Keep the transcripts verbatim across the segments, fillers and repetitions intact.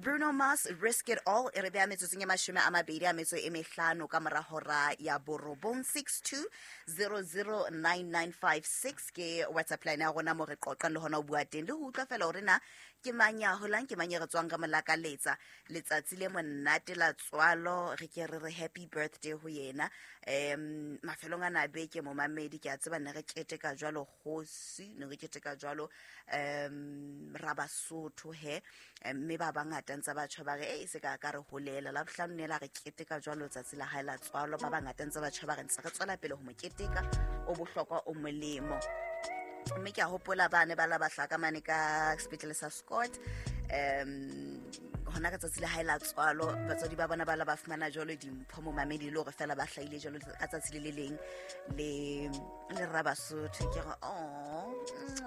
Bruno Mars, Risk It All, e re beha metsotsong e mashome a mabedi a metso e mehlano ka mora hora ya borobong. Six two zero zero nine nine five six ke WhatsApp line ya rona mo re qoqang le hona ho bua teng le ho utlwa fela hore na ke mang ya holang, ke mang e re tswang ka molakaletsa letsatsi le monate la tswalo, re ke re re happy birthday ho yena. Um mafelong ana a beke momamedi, ke a tseba ne re keteka jwalo kgosi, ne re keteka jwalo um Rabasotho he, mme ba bangata ntse ba tjho ba re e se ka ka re holela la bohlano ne la re keteka jwalo tsatsi la hae la tswalo. Ba bangata ntse ba tjho ba re ntse re tswela pele ho mo keteka, o bohlokwa o molemo. Mme ke a hopola ba ne ba la ba hlaka mane ka sepetlele sa Scott, um hona ka tsatsi la hae la tswalo batswadi ba bona ba la ba fumana jwalo dimpho momamedi, le hore fela ba hlahile jwalo ka tsatsi le le leng le le Rabasotho. Ke re oh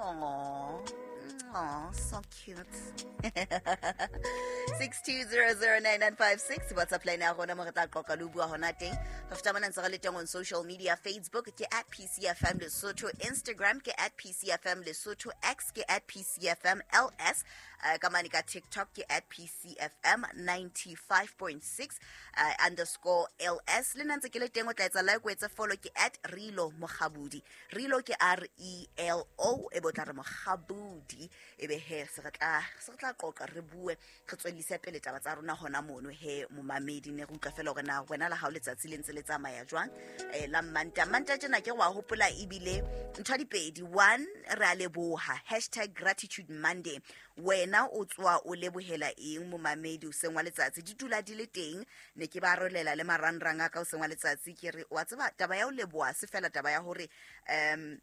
oh oh, so cute. Six two zero zero nine nine five six WhatsApp line ya rona mo re tla qoqa le ho bua hona teng. Ho feta mona ntse re le teng on social media. Facebook ke at P C F M Lesotho, Instagram ke at P C F M Lesotho, X ke at P C F M L S, uh, ka mane ka TikTok ke at P C F M ninety-five point six uh, underscore L S. Le nna ntse ke le teng, o tla etsa like, o etse follow, ke at Relo Mokgabudi. Relo ke R E L O, e bo tla re Mokgabudi, e be he se re tla se re tla qoqa re bue re tswellise pele taba tsa rona hona mono he momamedi. Ne re utlwa fela hore na wena la hao letsatsi le ntse le tsamaya jwang, eh la Manta. Manta tjena ke wa hopola ebile ntho di pedi. One, re a leboha, hashtag gratitude Monday. Wena o tswa o lebohela eng momamedi hoseng wa letsatsi? Di dula di le teng, ne ke ba rolela le marangrang a ka hoseng wa letsatsi. Ke re wa tseba taba ya ho leboha se fela taba ya hore um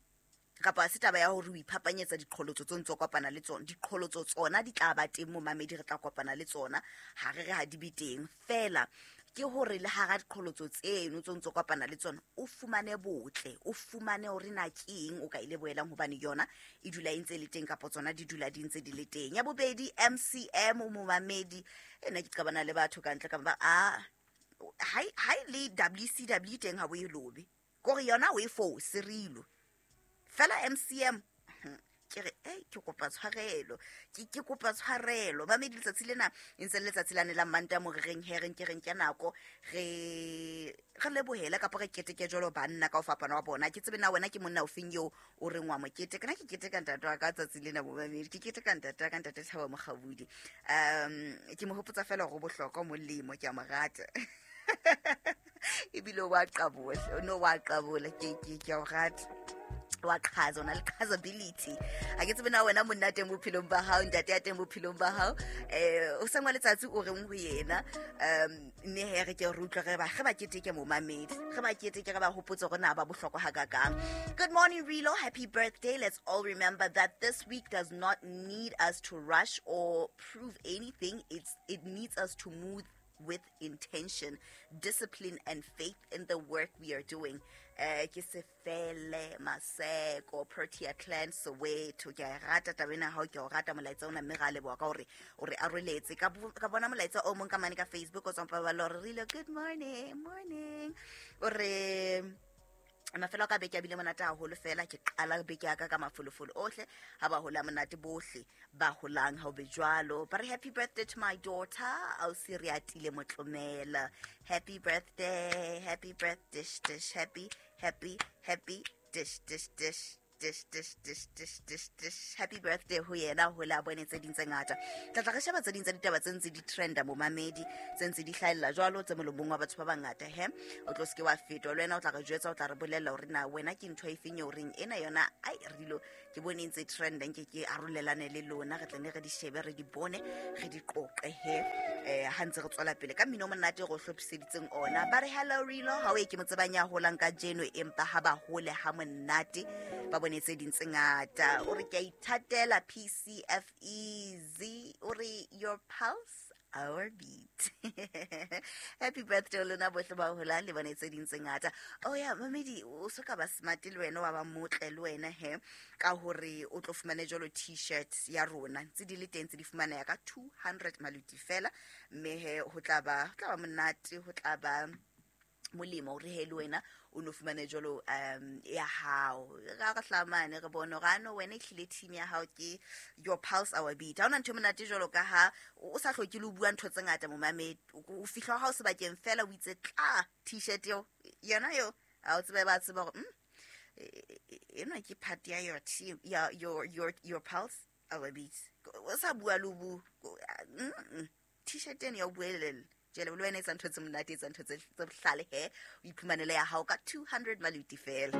kapa se taba ya hore o iphapanyetsa diqholotso tse ntso kopana le tsona. Diqholotso tsona di tla ba teng momamedi, re tla kopana le tsona, ha re re ha di be teng fela ke hore le hara diqholotso tseno tse ntso kopana le tsona o fumane botle, o fumane hore na ke eng o ka ile boelang, hobane yona e dula e ntse le teng kapa tsona di dula di ntse di le teng. Ya bobedi, M C M momamedi, ena ke qabana le batho ka ntle ka ba a ha ha le W C W teng ha bo e lobe kore yona o e fose rilo fela M C M. Ke re eh ke kopa tshwarelo, ke ke kopa tshwarelo ba medi letsatsi lena e ntse le letsatsi lane la Manta mo re reng he reng ke reng ke nako re re lebohele kapa re keteke jwalo banna ka ho fapana wa bona. Ke tsebe na wena ke monna o feng eo o reng wa mo keteka. Nna ke keteka ntate wa ka tsatsi lena momamedi, ke keteka ntate wa ka ntate Thabo Mokgabudi. Um ke mo hopotsa fela hore bohlokwa molemo, ke a mo rata ebile wa qabola, no wa qabola, ke ke ke a o rata, wa qhaza, o na le qhazability. Ha ke tsebe na wena monna teng bophelong ba hao, ntate ya teng bophelong ba hao, eh o sengwa letsatsi o reng ho yena. Um mme he re ke re utlwe re ba re ba keteke momamedi, re ba keteke, re ba hopotse hore na ba bohlokwa hakakang. Good morning Relo, happy birthday. Let's all remember that this week does not need us to rush or prove anything. It's it needs us to move with intention, discipline and faith in the work we are doing. Eh ke se fele Maseko Protea Clan Soweto. Ke a rata taba ena ha ke o rata molaetsa ona, mme ra leboha ka hore o re aroletse. Ka ka bona molaetsa o mong ka mane ka Facebook o tswang Paballo, re rile good morning, morning. O re mafelo a ka beke a bile monate haholo fela, ke qala beke ya ka ka mafolofolo ohle, ha ba hola monate bohle ba holang ha o be jwalo. Ba re happy birthday to my daughter Ausi Riatile Motlomela. Happy birthday, happy birthday, dish dish, happy happy happy dish dish dish dish dish dish dish dish dish. Happy birthday ho yena, ho la bone tse ding tse ngata. Tla tla re sheba tse ding tsa ditaba tse ntse di trenda momamedi, tse ntse di hlahella jwalo tse molomong wa batho ba bangata he. O tlo seke wa fetwa le wena, o tla re jwetsa, o tla re bolella hore na wena ke ntho e feng eo reng ena yona ai rilo ke bone ntse trenda, nke ke arolelane le lona, re tle ne re di shebe, re di bone, re di qoqe he. Eh ha ntse re tswela pele ka mmino o monate re o hlophiseditseng ona. Ba re hello Relo, ha o e ke mo tsebang ya holang ka jeno, empa ha ba hole ha monate ba bone tse ding tse ngata. O re ke a ithatela P C F E Z, o re your pulse our beat. Happy birthday lona bohle ba holang le bone tse ding tse ngata. Oh ya mamedi, o so ka ba smart le wena, wa ba motle le wena he, ka hore o tlo fumane jwalo t-shirt ya rona tse di le teng, tse di fumana ya ka two hundred maluti fela, mme he ho tla ba, ho tla ba monate, ho tla ba Molemo hore he le wena o no fumane jwalo um ya hao. Ra re hlamane re bone hore ano wena ehlile team ya hao ke your pulse our beat. Ha hona ntho e monate jwalo ka ha o sa hloke le ho bua ntho tse ngata momamedi. O fihla ha o sebakeng fela o itse tla t-shirt eo yona eo ha o tsebe ba tseba hore mm enwa ke part ya your team ya your your your pulse our beat. O sa bua le bu t-shirt eno ya o buelella. Jele le wena etsa ntho tse monate, etsa ntho tse bohlale he o iphumanele ya hao ka two hundred maluti fela.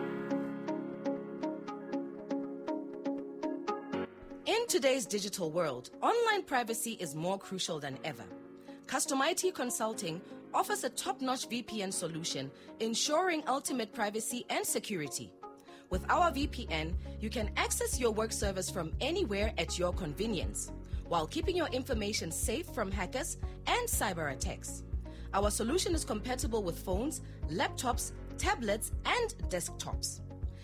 In today's digital world, online privacy is more crucial than ever. Custom I T Consulting offers a top-notch V P N solution, ensuring ultimate privacy and security. With our V P N, you can access your work servers from anywhere at your convenience, while keeping your information safe from hackers and cyber attacks. Our solution is compatible with phones, laptops, tablets, and desktops.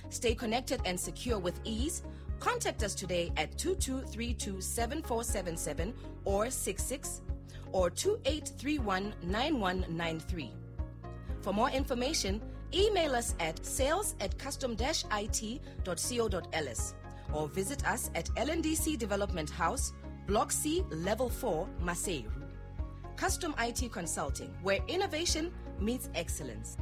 Stay connected and secure with ease. Contact us today at two two three two seven four seven seven or six six or two eight three one nine one nine three. For more information, email us at sales at custom dash I T dot co dot L S or visit us at L N D C Development House, Block C, Level four, Maseru. Custom I T Consulting, where innovation meets excellence.